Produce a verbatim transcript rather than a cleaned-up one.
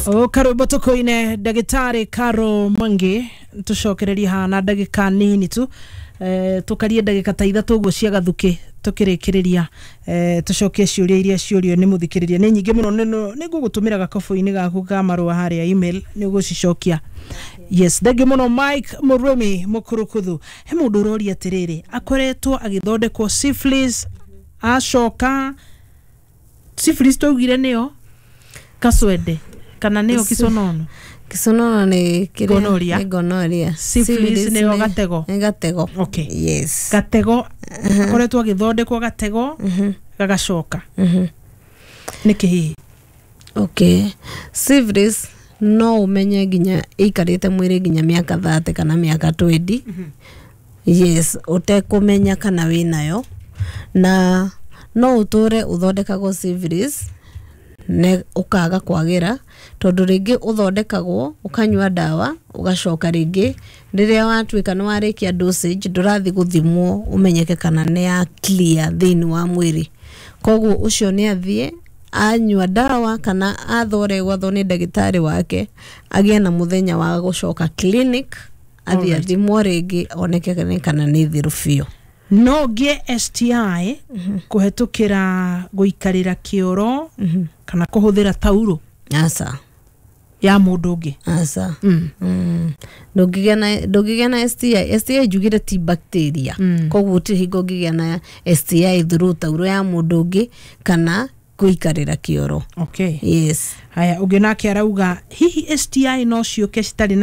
O karwĩmbo tũkũine. Ndagĩtarĩ Caro Mwangi, tũcokererie haha na ndagĩka nini tu, eh, tũkarie ndagĩka ta ithatũ ũguo cia gathukĩ tũkĩrĩkĩrĩria, eh, tũcokie ciũria iria ciũrio nĩ mũthikĩrĩria. Nĩ nyingĩ mũno. nĩ nĩ ngũgũtũmĩra gakobũ-inĩ gaku ka marũa harĩa email, nĩ ũgũcicokia. Yes, thengiũ mũno. Mike Mũrũmi Mũkũrũkũthũ, he mũndũ ũroria atĩrĩrĩ, akoretwo agĩthondekwo syphilis, acoka syphilis twaugire nĩyo kaswende kana nĩyo kiconono? Kisonono nĩ kĩrĩa- Gonorrhea. Nĩ gonorrhea. Syphilis nĩyo nĩ- gatego. Nĩ gatego. Okay. Yes. Gatego, akoretwo agĩthondekwo gatego gagacoka, nĩkĩ hihi? Okay, syphilis no ũmenye nginya ĩikarĩte mwĩrĩ nginya mĩaka thate kana mĩaka twenty, yes, ũtekũmenya kana wĩnayo, na no ũtũre ũthondekagwo syphilis ne ũkaga kwagĩra, tondũ rĩngĩ ũthondekagwo ũkanyua ndawa, ũgacoka rĩngĩ rĩrĩa watuĩka nĩ warĩkia dosage, ndũrathiĩ gũthimwo ũmenyeke kana nĩ ya clear thĩinĩ wa mwĩrĩ. Koguo ũcio nĩ athiĩ anyua ndawa kana athoregwathwo nĩ ndagĩtarĩ wake, agĩe na mũthenya wa gũcoka clinic, athiĩ Alright. athimwo rĩngĩ oneke kana nĩ thiru biũ. No ngĩe S T I kũhetũkĩra gũikarĩra kĩoro kana kũhũthĩra tauro Aca. ya mũndũ ũngĩ? Aca. Mm. Mm. ndũngĩgĩa na ndũngĩgĩa na S T I. S T I njugire ti bacteria. Mm. Koguo gũtirĩ hingo ũngĩgĩa na S T I through tauro ya mũndũ ũngĩ kana gũikarĩra kĩoro. Okay. Yes. Haya, ũngĩ nake arauga, hihi S T I no ciũke citarĩ na